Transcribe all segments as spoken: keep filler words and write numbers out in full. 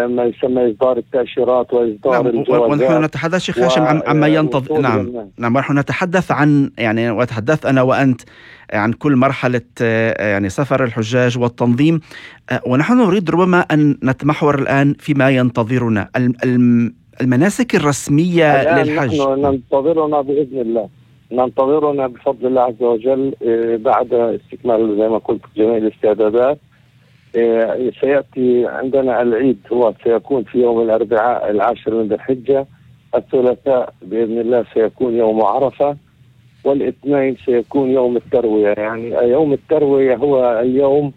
ما يسمى إصدار التأشيرات وإصدار نعم. الجوازات. ونحن نتحدث شيخ هاشم عن عما ينتظر. نعم نعم ونحن نتحدث عن يعني وتحدث أنا وأنت عن كل مرحلة يعني سفر الحجاج والتنظيم، ونحن نريد ربما أن نتمحور الآن فيما ينتظرنا المناسك الرسمية للحج. نحن ننتظرنا بإذن الله، ننتظرنا بفضل الله عز وجل بعد استكمال زي ما قلت جميع الاستعدادات. سيأتي عندنا العيد، هو سيكون في يوم الأربعاء العاشر من ذي الحجة، الثلاثاء بإذن الله سيكون يوم عرفة، والاثنين سيكون يوم التروية. يعني يوم التروية هو اليوم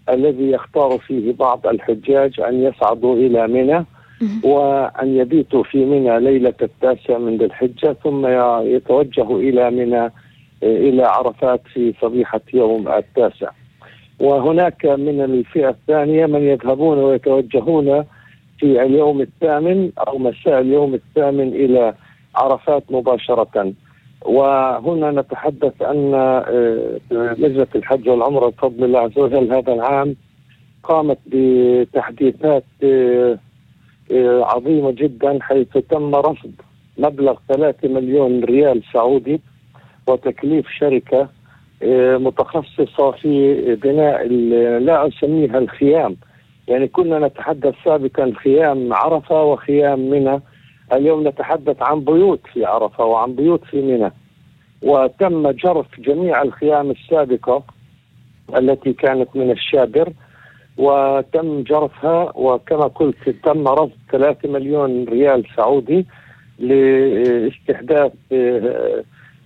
الذي يختار فيه بعض الحجاج أن يصعدوا إلى منى وأن يبيتوا في منى ليلة التاسع من ذي الحجة، ثم يتوجهوا إلى منى إلى عرفات في صبيحة يوم التاسع. وهناك من الفئة الثانية من يذهبون ويتوجهون في اليوم الثامن أو مساء اليوم الثامن إلى عرفات مباشرة. وهنا نتحدث أن لجنة الحج والعمرة بفضل الله عز وجل هذا العام قامت بتحديثات عظيمة جدا، حيث تم رصد مبلغ ثلاثة مليون ريال سعودي وتكليف شركة متخصصة في بناء لا أسميها الخيام، يعني كنا نتحدث سابقا خيام عرفة وخيام منى، اليوم نتحدث عن بيوت في عرفة وعن بيوت في منى. وتم جرف جميع الخيام السابقة التي كانت من الشابر وتم جرفها، وكما قلت تم رصد ثلاثة مليون ريال سعودي لاستحداث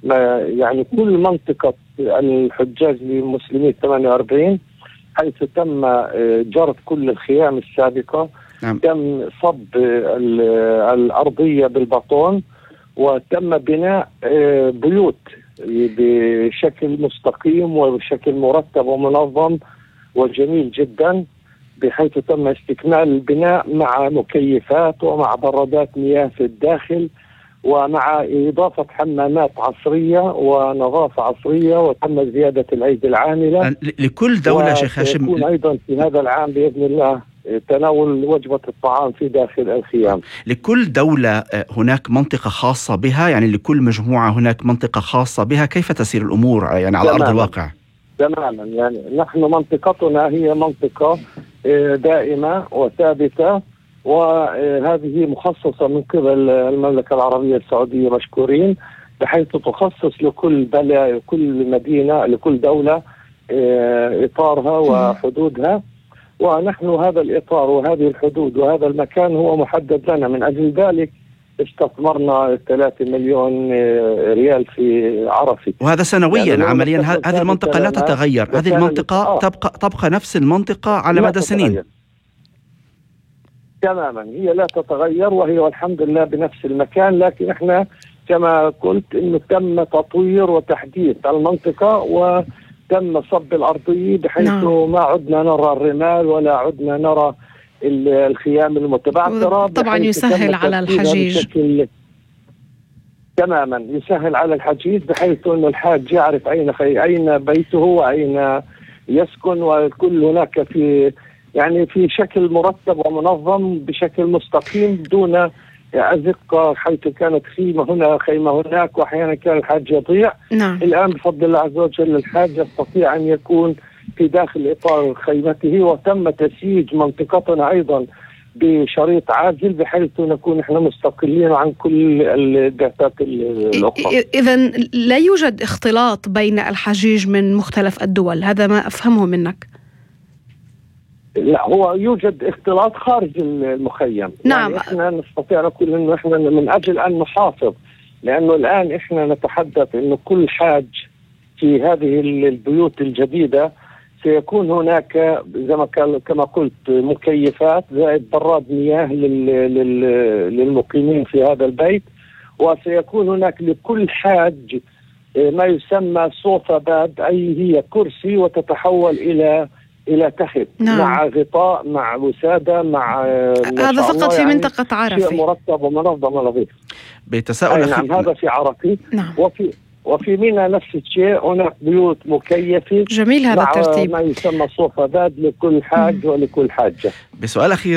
ما يعني كل منطقة الحجاج المسلمين ثمانية وأربعين، حيث تم جرف كل الخيام السابقة. نعم. تم صب الأرضية بالبطون وتم بناء بيوت بشكل مستقيم وبشكل مرتب ومنظم وجميل جدا، بحيث تم استكمال البناء مع مكيفات ومع برادات مياه في الداخل ومع إضافة حمامات عصرية ونظافة عصرية، وتم زيادة الأيدي العاملة لكل دولة. شيخ هاشم يكون أيضا في هذا العام بإذن الله تناول وجبة الطعام في داخل الخيام. لكل دولة هناك منطقة خاصة بها، يعني لكل مجموعة هناك منطقة خاصة بها، كيف تسير الأمور يعني على أرض الواقع؟ تماما، يعني نحن منطقتنا هي منطقة دائمة وثابتة، وهذه مخصصة من قبل المملكة العربية السعودية مشكورين، بحيث تخصص لكل بلد لكل مدينة لكل دولة إطارها وحدودها، ونحن هذا الإطار وهذه الحدود وهذا المكان هو محدد لنا. من أجل ذلك استثمرنا ثلاثة مليون ريال في عرفة، وهذا سنويا. يعني عمليا هذه المنطقة لا تتغير، هذه المنطقة آه. تبقى تبقى نفس المنطقة على مدى سنين. تماما، هي لا تتغير وهي والحمد لله بنفس المكان، لكن احنا كما قلت انه تم تطوير وتحديث المنطقة وتم صب الأرضية، بحيث نعم. ما عدنا نرى الرمال ولا عدنا نرى الخيام المتبعثرة، طبعا يسهل على الحجيج. تماما يسهل على الحجيج، بحيث انه الحاج يعرف اين خي... اين بيته واين يسكن، وكل هناك في يعني في شكل مرتب ومنظم بشكل مستقيم دون أزقة، حيث كانت خيمة هنا خيمة هناك وأحيانا كان الحاج يضيع. نعم. الآن بفضل الله عز وجل الحاج يستطيع أن يكون في داخل إطار خيمته، وتم تسييج منطقتنا أيضا بشريط عازل بحيث نكون احنا مستقلين عن كل البعثات الأخرى. إذا لا يوجد اختلاط بين الحجيج من مختلف الدول، هذا ما أفهمه منك. لا، هو يوجد اختلاط خارج المخيم. نعم. يعني احنا نستطيع نقول انه احنا من اجل ان نحافظ، لانه الان احنا نتحدث انه كل حاج في هذه البيوت الجديدة سيكون هناك زي ما كما قلت مكيفات زائد براد مياه للمقيمين في هذا البيت، وسيكون هناك لكل حاج ما يسمى صوفة باد، أي هي كرسي وتتحول إلى إلى تخت. نعم. مع غطاء مع وسادة مع هذا فقط في يعني منطقة عرفة، مرتب ومنظم ونظيف. بتساؤل أخي... نعم، هذا في عرفة. نعم. وفي وفي منى نفس الشيء، هناك بيوت مكيفة جميل هذا الترتيب، ما يسمى صوفة باد لكل حاج ولكل حاجة. بسؤال أخير